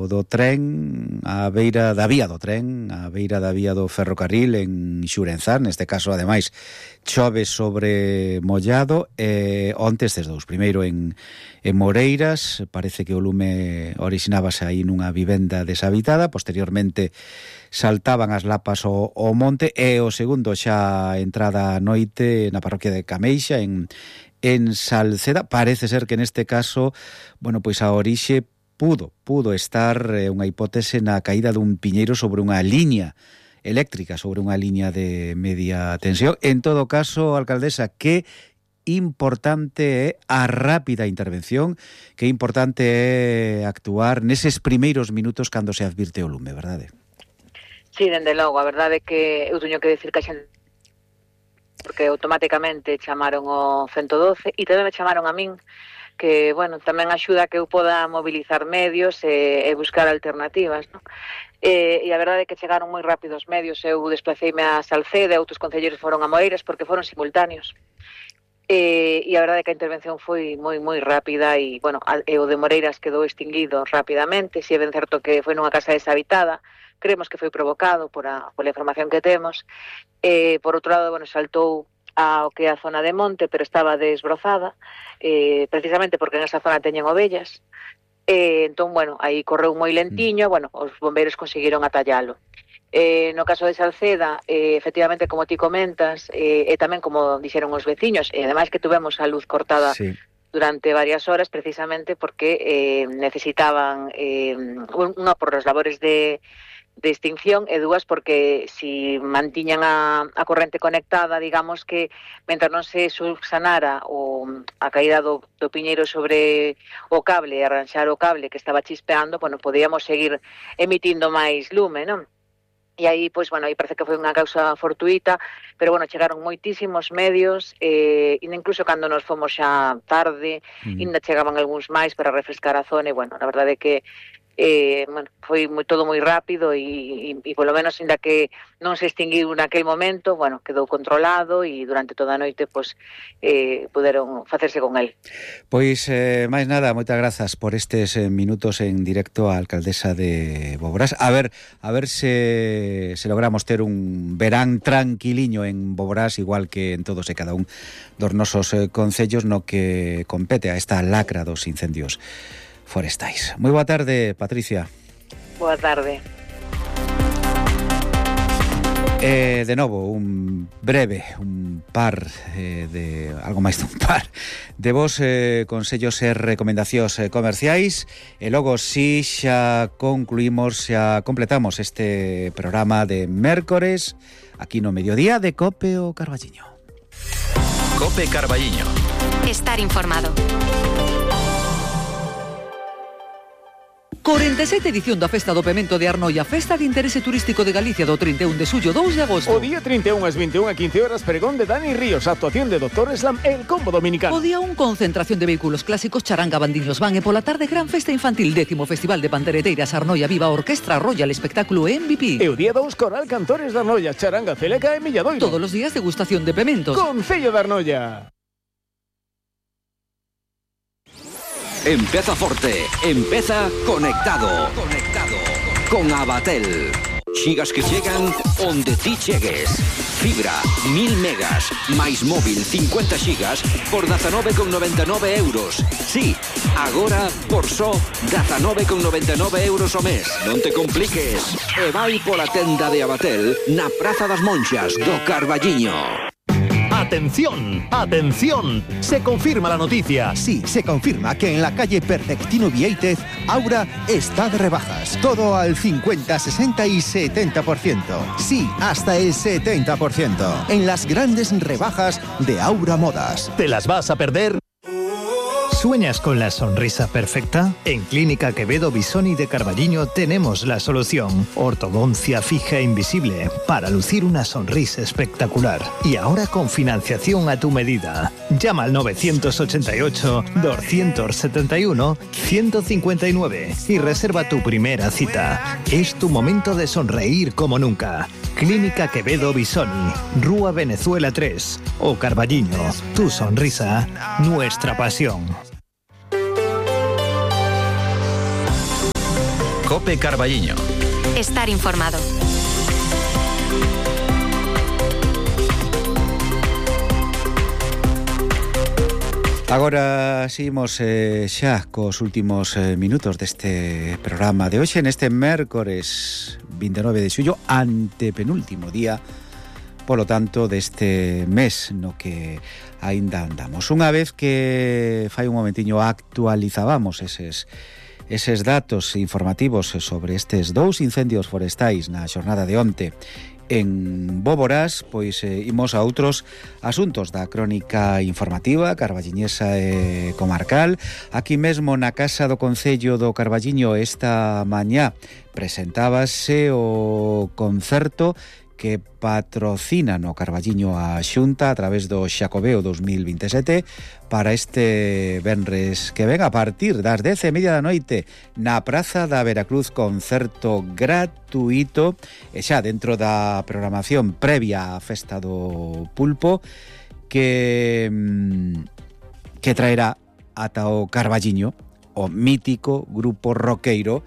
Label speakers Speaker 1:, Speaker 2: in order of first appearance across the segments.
Speaker 1: do tren, á beira da vía do tren, á beira da vía do ferrocarril en Xurenzán, neste caso, ademais, chove sobre mollado, onte estes dous, primeiro en Moreiras, parece que o lume orixinábase aí nunha vivenda deshabitada, posteriormente saltaban as lapas ao monte, e o segundo xa entrada a noite na parroquia de Cameixa, en Salceda. Parece ser que neste caso, bueno, pois a orixe pudo estar unha hipótese na caída dun piñeiro sobre unha liña eléctrica, sobre unha liña de media tensión. En todo caso, alcaldesa, que importante é a rápida intervención, que importante é actuar neses primeiros minutos cando se advirte o lume, verdade?
Speaker 2: Sí, dende logo, a verdade é que eu teño que decir que a xente, porque automáticamente chamaron o 112 e tamén me chamaron a min, que, bueno, tamén axuda a que eu poda mobilizar medios e buscar alternativas, non? E a verdade é que chegaron moi rápido os medios. Eu desplaceime a Salceda, outros concelleiros foron a Moreiras porque foron simultáneos. E a verdade é que a intervención foi moi rápida e, bueno, o de Moreiras quedou extinguido rapidamente. Si é ben certo que foi nunha casa deshabitada, creemos que foi provocado pola información que temos. Por outro lado, bueno, saltou ao que é a zona de monte, pero estaba desbrozada, precisamente porque en esa zona teñen ovellas. Entón, bueno, aí correu moi lentiño, bueno, os bombeiros conseguiron atallalo. No caso de Salceda, efectivamente, como ti comentas, e tamén como dixeron os veciños, e ademais que tuvemos a luz cortada durante varias horas, precisamente porque necesitaban unha por as labores de extinción e dúas porque si mantiñan a corrente conectada, digamos que mentre non se subsanara a caída do piñeiro sobre o cable e arranxar o cable que estaba chispeando, bueno, podíamos seguir emitindo máis lume, non? E aí, pois, bueno, aí parece que foi unha causa fortuita, pero, bueno, chegaron moitísimos medios, incluso cando nos fomos xa tarde, ainda chegaban algúns máis para refrescar a zona, e, bueno, a verdade é que bueno, foi todo moi rápido e polo menos, ainda que non se extinguiu naquel momento, bueno, quedou controlado e durante toda a noite, pois, puderon facerse con el.
Speaker 1: Pois, máis nada, moitas grazas por estes minutos en directo á alcaldesa de Boborás. A ver se logramos ter un verán tranquiliño en Boborás, igual que en todos e cada un dos nosos concellos no que compete a esta lacra dos incendios forestais. Moi boa tarde, Patricia.
Speaker 2: Boa tarde.
Speaker 1: De novo, un par de algo máis dun par de vos consellos e recomendacións comerciais, e logo si xa concluímos, xa completamos este programa de mércores aquí no mediodía de Cope o Carballiño.
Speaker 3: Cope Carballiño.
Speaker 4: Estar informado.
Speaker 5: 47 edición da Festa do Pemento de Arnoia, Festa de Interese Turístico de Galicia do 31 de xullo 2 de agosto.
Speaker 6: O día 31 ás 21 a 15 horas, pregón de Dani Ríos, actuación de Dr. Slam e el combo dominicano.
Speaker 5: O día 1, concentración de vehículos clásicos, charanga, bandiños van, e pola tarde gran festa infantil, 10º Festival de Pandereteiras Arnoia Viva, Orquestra Royal, espectáculo MVP.
Speaker 6: E o día 2, Coral Cantores de Arnoia, charanga, celeca e milladoiro.
Speaker 5: Todos os días degustación de pementos.
Speaker 6: Concello de Arnoia.
Speaker 3: Empeza forte, empeza conectado. Con Abatel. Xigas que chegan onde ti chegues. Fibra, 1000 megas, máis móvil 50 xigas por 19,99 euros. Sí, agora por só 19,99 euros ao mes. Non te compliques. E vai pola tenda de Abatel na Praza das Monxas do Carballiño.
Speaker 7: ¡Atención! ¡Atención! Se confirma la noticia.
Speaker 8: Sí, se confirma que en la calle Perfectino Vieitez, Aura está de rebajas. Todo al 50, 60 y 70%. Sí, hasta el 70%. En las grandes rebajas de Aura Modas.
Speaker 7: ¿Te las vas a perder? ¿Sueñas con la sonrisa perfecta? En Clínica Quevedo Bisoni de Carballiño tenemos la solución. Ortodoncia fija e invisible para lucir una sonrisa espectacular. Y ahora con financiación a tu medida. Llama al 988-271-159 y reserva tu primera cita. Es tu momento de sonreír como nunca. Clínica Quevedo Bisoni, Rúa Venezuela 3 o Carballiño. Tu sonrisa, nuestra pasión.
Speaker 4: COPE Carballiño.
Speaker 9: Estar informado.
Speaker 1: Agora seguimos xa cos últimos minutos deste programa de hoxe, neste mércores 29 de xullo, antepenúltimo día, polo tanto, deste mes no que aínda andamos. Unha vez que fai un momentiño actualizábamos eses datos informativos sobre estes 2 incendios forestais na xornada de onte en Boborás, pois imos a outros asuntos da crónica informativa carballiñesa e comarcal. Aquí mesmo na Casa do Concello do Carballiño esta mañá presentábase o concerto que patrocina no Carballiño a Xunta a través do Xacobeo 2027 para este venres que ven a partir das 10:30 da noite na Praza da Veracruz, concerto gratuito e xa dentro da programación previa á Festa do Pulpo que traerá ata o Carballiño o mítico grupo roqueiro,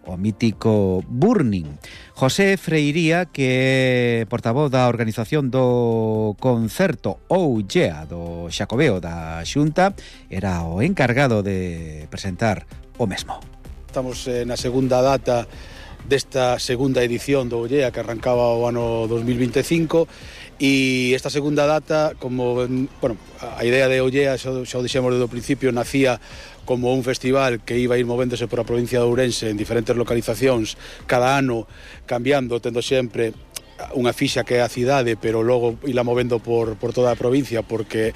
Speaker 1: o mítico Burning. José Freiría, que é portavoz da organización do concerto Ollea do Xacobeo da Xunta, era o encargado de presentar o mesmo.
Speaker 10: Estamos na segunda data desta segunda edición do Ollea que arrancaba o ano 2025 e esta segunda data, como, bueno, a idea de Ollea, xa o dixemos desde o principio, nacía como un festival que iba a ir movéndose por a provincia de Ourense en diferentes localizacións, cada ano cambiando, tendo sempre unha fixa que é a cidade, pero logo ila movendo por toda a provincia, porque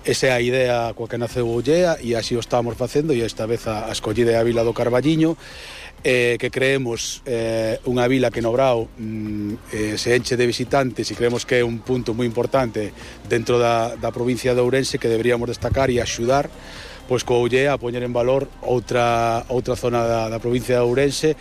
Speaker 10: esa é a idea coa que naceu Ollea e así o estamos facendo, e esta vez a escollida é a vila do Carballiño, que creemos unha vila que no Brao se enche de visitantes e creemos que é un punto moi importante dentro da provincia de Ourense que deberíamos destacar e axudar pois co Ollea a poñer en valor outra zona da provincia de Ourense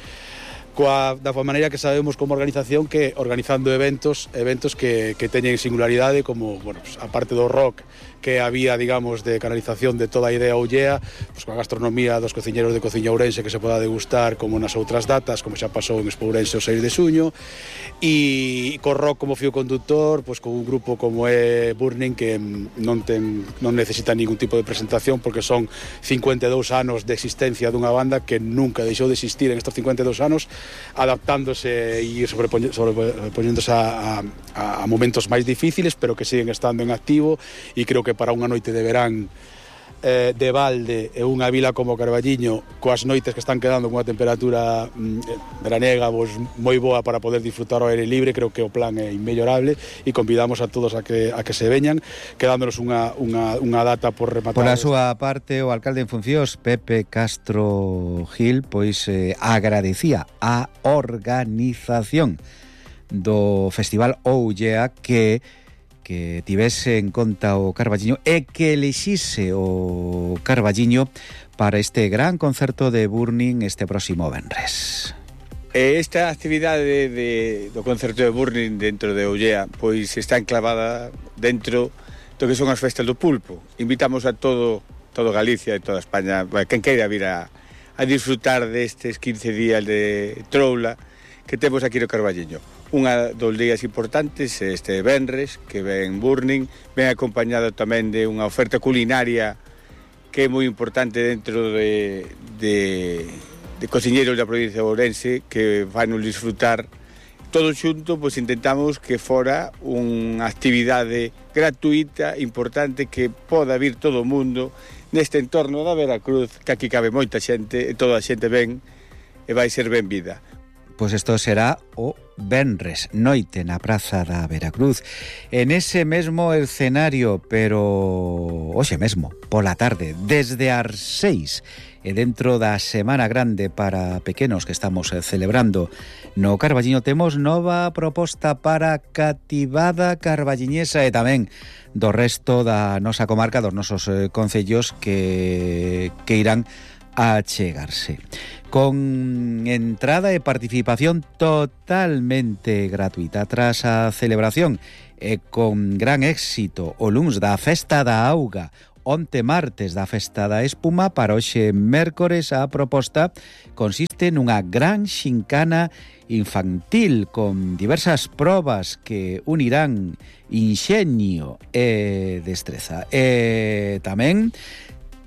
Speaker 10: da maneira que sabemos como organización que organizando eventos que teñen singularidade como, bueno, pues, a parte do rock que había, digamos, de canalización de toda a idea Ollea, pues, coa gastronomía dos cociñeros de Cociña Ourense que se poda degustar como nas outras datas, como xa pasou en Expo Ourense o 6 de xuño, e co rock como fío conductor, pues, con un grupo como é Burning que non necesita ningún tipo de presentación porque son 52 anos de existencia dunha banda que nunca deixou de existir en estos 52 anos, adaptándose e sobrepoñéndose a momentos máis difíciles, pero que siguen estando en activo, e creo que para unha noite de verán de balde e unha vila como Carballiño coas noites que están quedando con unha temperatura veraniega moi boa para poder disfrutar ao aire libre, creo que o plan é inmellorable e convidamos a todos a que se veñan, quedándonos unha data por rematar.
Speaker 1: Por a súa parte, o alcalde en funcións, Pepe Castro Gil, pois agradecía a organización do Festival Ollea que tivese en conta o Carballiño e que elixise o Carballiño para este gran concerto de Burning este próximo venres.
Speaker 11: Esta actividade do concerto de Burning dentro de Ollea pois está enclavada dentro do que son as festas do pulpo. Invitamos a todo Galicia e toda España, quen queira vir a disfrutar destes 15 días de troula que temos aquí no Carballiño. Unha dos días importantes este venres, que ven Burning, ven acompañado tamén de unha oferta culinaria que é moi importante dentro de cociñeros da provincia de Ourense que van a disfrutar. Todo xunto, pois intentamos que fora unha actividade gratuita, importante, que poda vir todo o mundo neste entorno da Veracruz, que aquí cabe moita xente, e toda a xente ven e vai ser ben vida.
Speaker 1: Pois isto será o venres, noite na Praza da Veracruz. En ese mesmo escenario, pero hoxe mesmo, pola tarde, desde as 6, e dentro da Semana Grande para pequenos que estamos celebrando no Carballiño, temos nova proposta para cativada carballiñesa e tamén do resto da nosa comarca, dos nosos concellos que irán a chegarse. Con entrada e participación totalmente gratuita. Tras a celebración e con gran éxito o luns da Festa da Auga, onte martes da Festa da Espuma. Para hoxe mércores a proposta consiste nunha gran xincana infantil con diversas probas que unirán inxenio e destreza. E tamén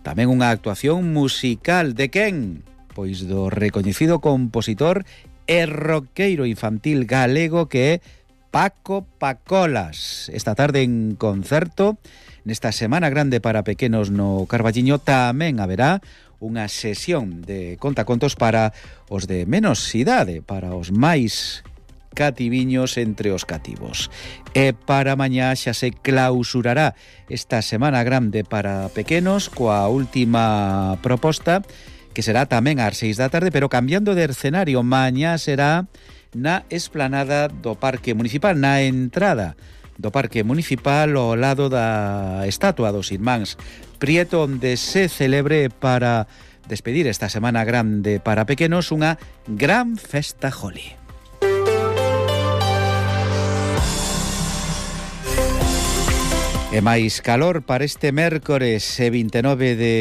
Speaker 1: unha actuación musical de quen? Pois do recoñecido compositor e roqueiro infantil galego que é Paco Pacolas. Esta tarde en concerto, nesta Semana Grande para Pequenos no Carballiño, tamén haberá unha sesión de contacontos para os de menos idade, para os máis cativiños entre os cativos. E para mañá xa se clausurará esta Semana Grande para Pequenos coa última proposta, que será tamén ás 6 da tarde, pero cambiando de escenario. Mañá será na esplanada do Parque Municipal, na entrada do Parque Municipal, ao lado da estatua dos irmáns Prieto, onde se celebre para despedir esta Semana Grande para Pequenos unha gran festa Joli. E máis calor para este mércores 29 de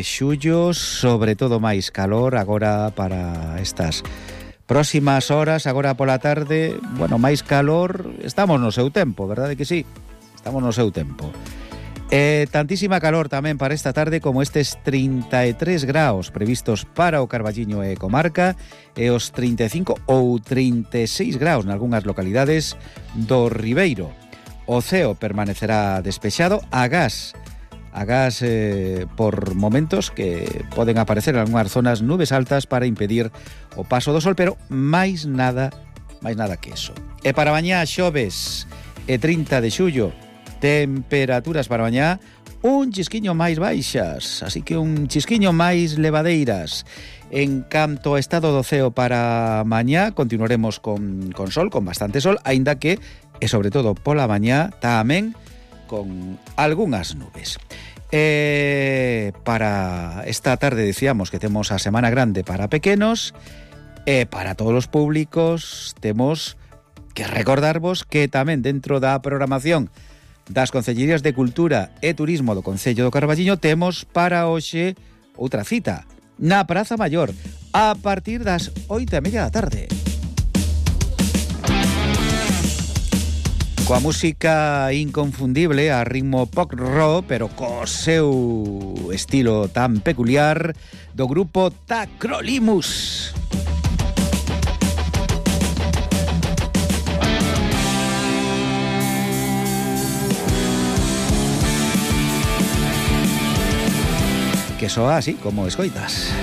Speaker 1: xullo, sobre todo máis calor agora para estas próximas horas, agora pola tarde. Bueno, máis calor, estamos no seu tempo, verdade que sí? Estamos no seu tempo. Tantísima calor tamén para esta tarde como estes 33 graus previstos para o Carballiño e comarca, e os 35 ou 36 graus nalgúnas localidades do Ribeiro. O ceo permanecerá despexado, agás por momentos que poden aparecer en algunhas zonas nubes altas para impedir o paso do sol, pero máis nada que eso. E para mañá xoves e 30 de xullo, temperaturas para mañá un chisquiño máis baixas, así que un chisquiño máis levadeiras. En canto ao estado do ceo para mañá, continuaremos con sol, con bastante sol, aínda que, e sobre todo pola mañá, tamén con algunhas nubes. Para esta tarde decíamos que temos a Semana Grande para Pequenos, e para todos os públicos temos que recordarvos que tamén dentro da programación das Concellerías de Cultura e Turismo do Concello do Carballiño temos para hoxe outra cita na Praza Maior a partir das 8:30 da tarde. Coa música inconfundible a ritmo pop rock, pero co seu estilo tan peculiar do grupo Tacrolimus. Que soa así como escoitas.